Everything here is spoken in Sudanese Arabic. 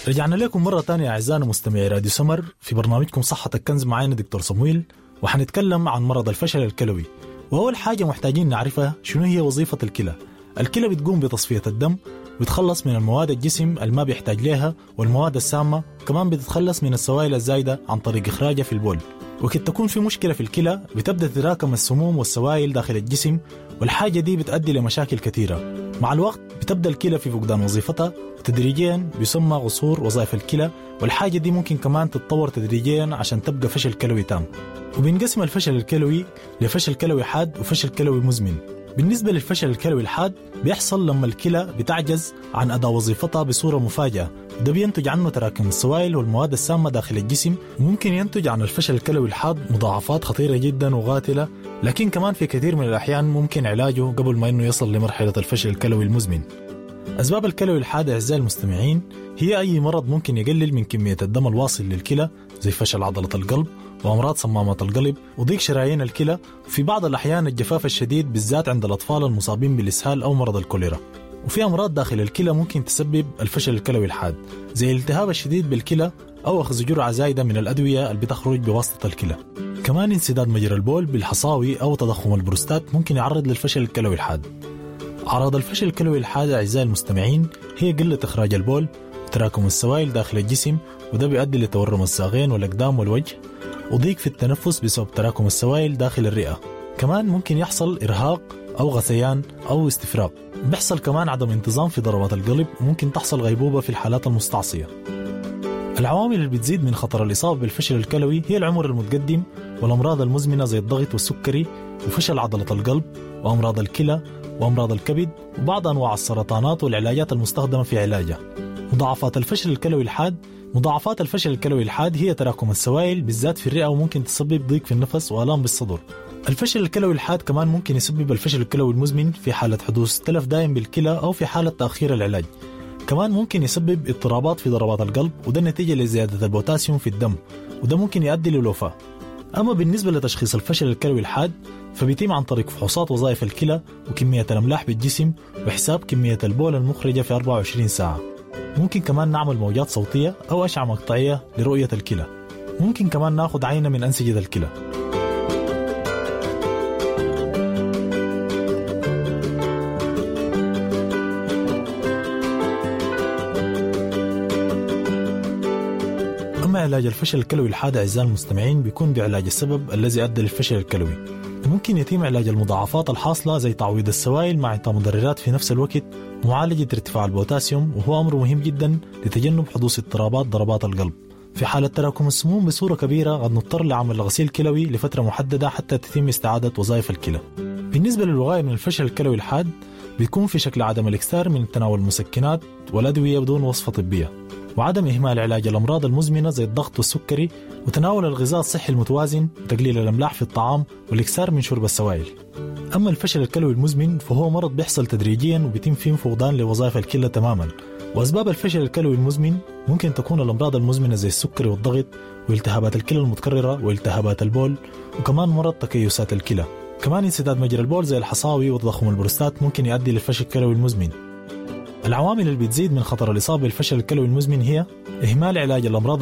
رجعنا لكم مرة تانية أعزائنا مستمعي راديو سمر في برنامجكم صحتك كنز، معانا دكتور صمويل، وحنتكلم عن مرض الفشل الكلوي. وأول حاجة محتاجين نعرفها شنو هي وظيفة الكلى. الكلى بتقوم بتصفية الدم، بتخلص من المواد الجسم اللي ما بيحتاج لها والمواد السامة، كمان بتتخلص من السوائل الزايدة عن طريق إخراجها في البول. وقت تكون في مشكلة في الكلى بتبدأ تتراكم السموم والسوائل داخل الجسم، والحاجة دي بتؤدي لمشاكل كثيرة. مع الوقت بتبدأ الكلى في فقدان وظيفتها، وتدريجيا بيسمى قصور وظائف الكلى، والحاجة دي ممكن كمان تتطور تدريجيا عشان تبقى فشل كلوي تام. وبينقسم الفشل الكلوي لفشل كلوي حاد وفشل كلوي مزمن. بالنسبة للفشل الكلوي الحاد بيحصل لما الكلى بتعجز عن أداء وظيفتها بصورة مفاجئة، ده بينتج عنه تراكم السوائل والمواد السامة داخل الجسم. وممكن ينتج عن الفشل الكلوي الحاد مضاعفات خطيرة جدا وقاتلة، لكن كمان في كثير من الأحيان ممكن علاجه قبل ما إنه يصل لمرحلة الفشل الكلوي المزمن. أسباب الكلوي الحاد أعزائي المستمعين هي أي مرض ممكن يقلل من كمية الدم الواصل للكلى، زي فشل عضلة القلب وأمراض صمامات القلب وضيق شرايين الكلى، وفي بعض الأحيان الجفاف الشديد بالذات عند الأطفال المصابين بالإسهال أو مرض الكوليرا. وفي أمراض داخل الكلى ممكن تسبب الفشل الكلوي الحاد، زي الالتهاب الشديد بالكلى أو أخذ جرعة زايدة من الأدوية اللي بتخرج بواسطة الكلى. كمان انسداد مجرى البول بالحصاوي أو تضخم البروستات ممكن يعرض للفشل الكلوي الحاد. أعراض الفشل الكلوي الحاد أعزائي المستمعين هي قلة إخراج البول وتراكم السوائل داخل الجسم، وده بيؤدي لتورم الساقين والأقدام والوجه، وضيق في التنفس بسبب تراكم السوائل داخل الرئة. كمان ممكن يحصل إرهاق أو غثيان أو استفراغ. بيحصل كمان عدم انتظام في ضربات القلب، وممكن تحصل غيبوبة في الحالات المستعصية. العوامل اللي بتزيد من خطر الإصابة بالفشل الكلوي هي العمر المتقدم والأمراض المزمنة زي الضغط والسكري وفشل عضلة القلب وأمراض الكلى وأمراض الكبد وبعض أنواع السرطانات والعلاجات المستخدمة في علاجها. مضاعفات الفشل الكلوي الحاد. مضاعفات الفشل الكلوي الحاد هي تراكم السوائل بالذات في الرئة، وممكن تسبب ضيق في النفس وآلام بالصدر. الفشل الكلوي الحاد كمان ممكن يسبب الفشل الكلوي المزمن في حالة حدوث تلف دائم بالكلى أو في حالة تأخير العلاج. كمان ممكن يسبب اضطرابات في ضربات القلب، وده نتيجة لزيادة البوتاسيوم في الدم، وده ممكن يؤدي للوفاة. أما بالنسبة لتشخيص الفشل الكلوي الحاد فبيتم عن طريق فحوصات وظائف الكلى وكمية الأملاح بالجسم وحساب كمية البول المخرجة في 24 ساعة. ممكن كمان نعمل موجات صوتية أو أشعة مقطعية لرؤية الكلى. ممكن كمان ناخد عينة من أنسجة الكلى. أما علاج الفشل الكلوي الحاد أعزائي المستمعين بيكون بعلاج السبب الذي أدى للفشل الكلوي. ممكن يتم علاج المضاعفات الحاصلة زي تعويض السوائل مع إعطاء مدررات في نفس الوقت، ومعالجة ارتفاع البوتاسيوم، وهو أمر مهم جدا لتجنب حدوث اضطرابات ضربات القلب. في حالة تراكم السموم بصورة كبيرة قد نضطر لعمل غسيل كلوي لفترة محددة حتى تتم استعادة وظائف الكلى. بالنسبة للوقاية من الفشل الكلوي الحاد بيكون في شكل عدم الإكثار من تناول المسكنات والأدوية بدون وصفة طبية، وعدم إهمال علاج الأمراض المزمنة زي الضغط والسكري، وتناول الغذاء الصحي المتوازن، وتقليل الأملاح في الطعام، والإكثار من شرب السوائل. أما الفشل الكلوي المزمن فهو مرض بيحصل تدريجيا وبيتم فيه فقدان لوظائف الكلى تماما. وأسباب الفشل الكلوي المزمن ممكن تكون الأمراض المزمنة زي السكري والضغط والتهابات الكلى المتكررة والتهابات البول، وكمان مرض تكيسات الكلى. كمان انسداد مجرى البول زي الحصاوي وتضخم البروستات ممكن يؤدي للفشل الكلوي المزمن. العوامل اللي بتزيد من خطر الإصابة بالفشل الكلوي المزمن هي إهمال علاج الأمراض